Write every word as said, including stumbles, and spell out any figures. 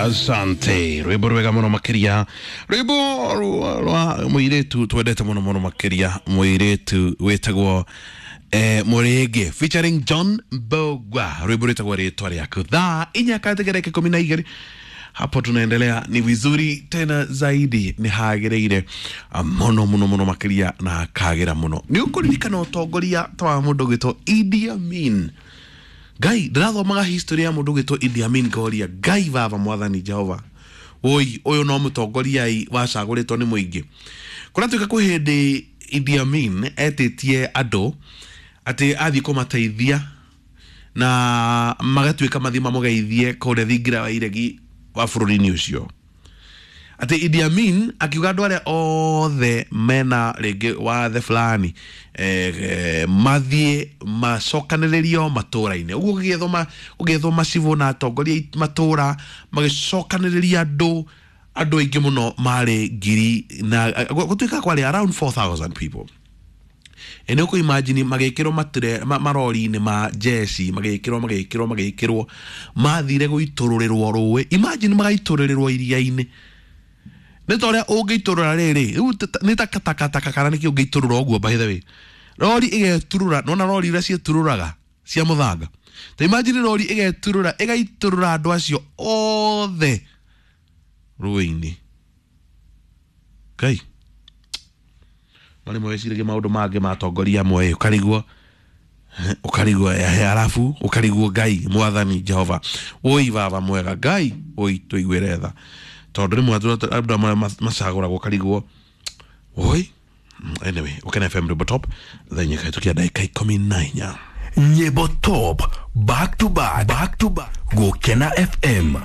Asante, rwimbo rwega muno makiria, rwimbo rwa muiritu twendete muno muno makiria, muiritu witagwo eh, Murege featuring John Mbugua, rwimbo rwitagwo Ritwa Riaku. Thaa inya katika dakika ikumi na igĩrĩ hapo tunaendelea, ni vizuri tena zaidi, ni hagĩrĩire muno muno muno makiria na kagira muno. Ni ũkũririkana ũtongoria ta wa mũndũ ũgwĩtwo Idi Amin. Ngai, ndĩrathomaga history ya mũndũ ũgwĩtwo Idi Amin ngoria Ngai baba mwathani Jehova, woi ũyũ no mũtongoria i wacagũrĩtwo nĩ mũingĩ. Kũratuĩka kwĩ hĩndĩ Idi Amin etĩtie andũ atĩ athiĩ kũmateithia na magatuĩka mathiĩ mamũgeithie kũrĩa thingira wa iregi wa bũrũri-inĩ ũcio. Atĩ Idi Amin akiuga andũ arĩa othe mena rĩngĩ wathe fulani eh, eh, mathiĩ macokanĩrĩrio matũra-inĩ. Ũguo gũgĩethwo ma, gũgĩethwo macibũ na atongoria matũra magĩcokanĩrĩria andũ andũ aingĩ mũno marĩ ngiri na gũtuĩka kwarĩ around four thousand people. Ĩ nĩ ũkũ imagine magĩkĩrwo matire ma, marori-inĩ ma jeshi, magĩkĩrwo magĩkĩrwo magĩkĩrwo mathire gũitũrũrĩrwo rũĩ. Imagine magaitũrũrĩrwo iria-inĩ. Nĩ ta ũrĩa ũngĩitũrũra rĩrĩ, rĩu nĩ ta takataka kana nĩkĩ ũngĩitũrũra ũguo, by the way. Rori ĩgeturũra, nona rori iria ciĩturũraga cia mũthanga. Ta imagine rori ĩgeturũra, ĩgaitũrũra andũ acio othe rũĩ-inĩ. Ngai, marĩ weciragia maũndũ mangĩ matongoria amwe, ũkarigwo ũkarigwo arabu ũkarigwo Ngai mwathani Jehova, woi baba mwega Ngai, woi tũiguĩre tha, tondũ rĩmwe andũ amwe macagũragwo ũkarigwo woi. Anyway, Ukena F M Rwimbo Top thaa inya kahĩtũkia ndagĩka ikũmi na inya. Nyĩmbo Top back to back, back to back, Gũkena F M.